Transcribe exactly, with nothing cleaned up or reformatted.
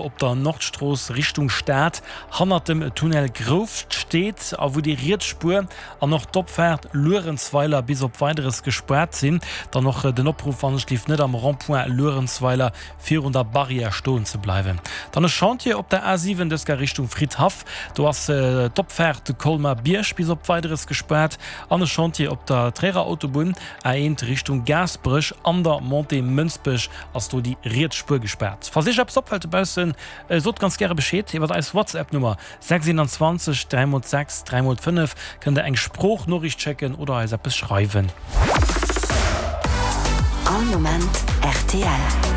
op der Nordstrooss Richtung Stad hannert dem Tunnel Grouft steet a wou déi riets Spuer an och d'Opfaart Luerenzweiler bis op Weideres gespaart sinn. Dann och den Opruff, wann ech lift net am Rond-point Luerenzweiler virun der Barrière stoen ze bleiwen. Dann e Chantier op der A siwen, dës Kéier Richtung Fridhaff, do ass d'Opfaart Colmar-Bierg bis op Weideres gespaart an e Chantier op der Tréierer Autobunn A eent Richtung Gaasperech an der Montée Mënsbech ass do déi riets Spuer gespaart. Falls Iech eppes opfält dobaussen, sot ganz gäre Bescheed iwwer eis WhatsApp Nummer sechs einundzwanzeg dräi mol sechs dräi mol fënnef kënnt der eng Sproochnoriicht schécken oder eis eppes schreiwen. All Moment rtl.